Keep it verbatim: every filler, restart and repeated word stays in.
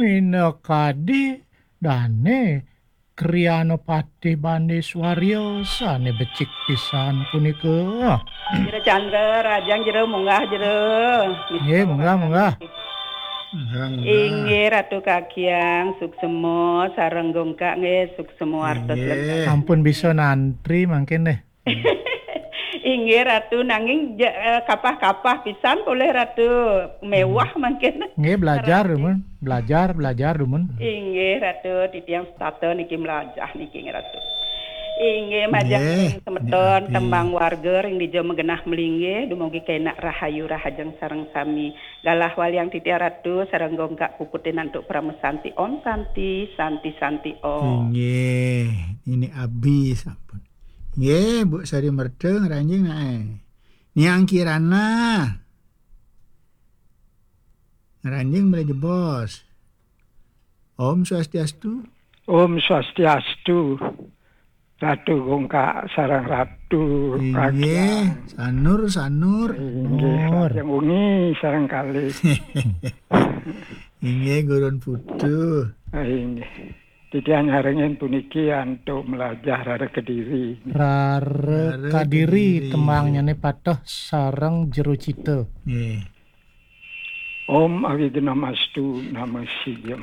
Minakadi dane Kriana Patih Bande Swarya sane becik pisan punika. Jero Candra, Rajang Jero, munggah Jero. Nggih, munggah, munggah. Munggah, munggah. Inggih, Ratu Kakiang, suksema sareng Gongkak nggih, suksema artos. Inggih. Ampun bisa nantri mangkin deh. Inggih, Ratu, nanging ja-, eh, kapah-kapah pisan polih, Ratu. Mewah mangkin. Nggih, belajar, Ratu. Dumun. Belajar, belajar, dumun. Inggih, Ratu, titiang setata niki melajah niki, Ratu. Inggih, majeng. Nggih, semeton, Adi. Tembang warga ring dija magenah malinggih, dumugi kenak rahayu rahajeng sareng sami. Galah waliang titiang, Ratu, sareng Gongkak puputin antuk parama santi. Om Santi, Santi, Santi, Om. Inggih, ini abi sampun. Nggih, Bu Sari Merta ngranjing nae. Niang Kirana. Ngranjing mele jebos. Om Swastiastu. Om Swastiastu. Ratu Gongkak sareng Ratu Inggih, Kakiang. Sanur, Sanur. Inggih, Nur. Yang wengi sareng kalih. Inggih, Gurun Putu. Ah, inggih. Titiang nyarengin puniki antuk melajah Rara Kediri. Rara Rara Kadiri, Kediri. Tembangnyane Pateh sareng Jero Cita. Nggih. Om Awighnamastu Namo Sidham.